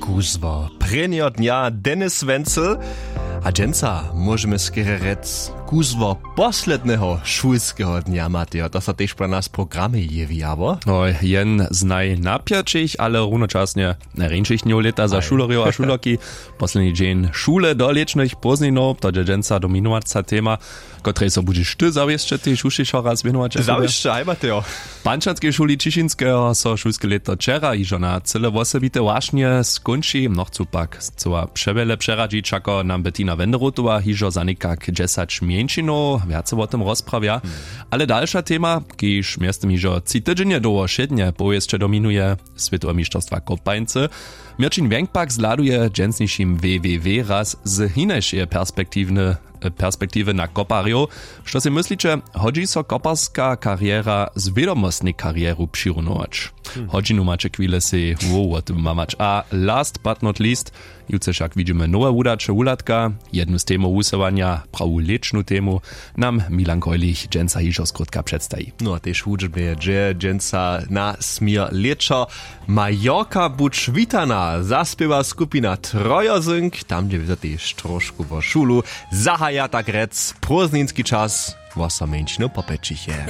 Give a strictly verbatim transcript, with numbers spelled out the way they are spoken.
Kuzło prěnjeho dnja, Dennis Wenzel. A dźensa móžemy skerje rjec, kuzło posledneho šulskeho dnja, Matejo, to so tež pro nas w programje jewi, abo? No, jen z najnapjaćich, ale runočasnje najrjeńšich dnjow lěta za šulerjow a šulerki. Posledni dźeń šule do lěćnych pózdninow, to dźe dźensa dominowaca tema, kotrej so budźeš ty zawěsće tež hušćišo raz wěnować. Zawěsće haj, Matejo. W pančanskej šuli Ćišinskeho so šulske lěto wčera hižo na cyle wosebite wašnje skónči. Mnochcu pak chcyła přewjele přeradźić, wšako nam Bettina Wenderotowa hižo za někak dźesać mjeńšinow wjace wo tym rozprawja. Ale dalša tema, kiž mjeztym hižo tři tydźenje dołho wšědnje powěsće dominuje, swětowe mišćerstwa kopańcy. Měrćin Wjenk pak zhladuje w dźensnišim www raz z hinašeje perspektiwny perspektiwy na koparjow. Što sej mysliće, hodźi so koparska kariera z wědomostnej karieru přirunować? Hodźinu maće chwile sej wo wo tym mamać. A last but not least, jutře wšak widźimy nowe wudaće wuhladka. Jednu z temow wusyłanja, prawu lěćnu temu, nam Milan Kojlich dźensa hižo skrótka předstaji. No a tež hudźbnje dźe dźensa na směr lěćo. Majorka, budź witana, zaspěwa skupina Trojozynk, tam dźe wězo tež trošku wo šulu. Zahaja tak rjec prózdninski čas, wosomjeńšinu popjećiche.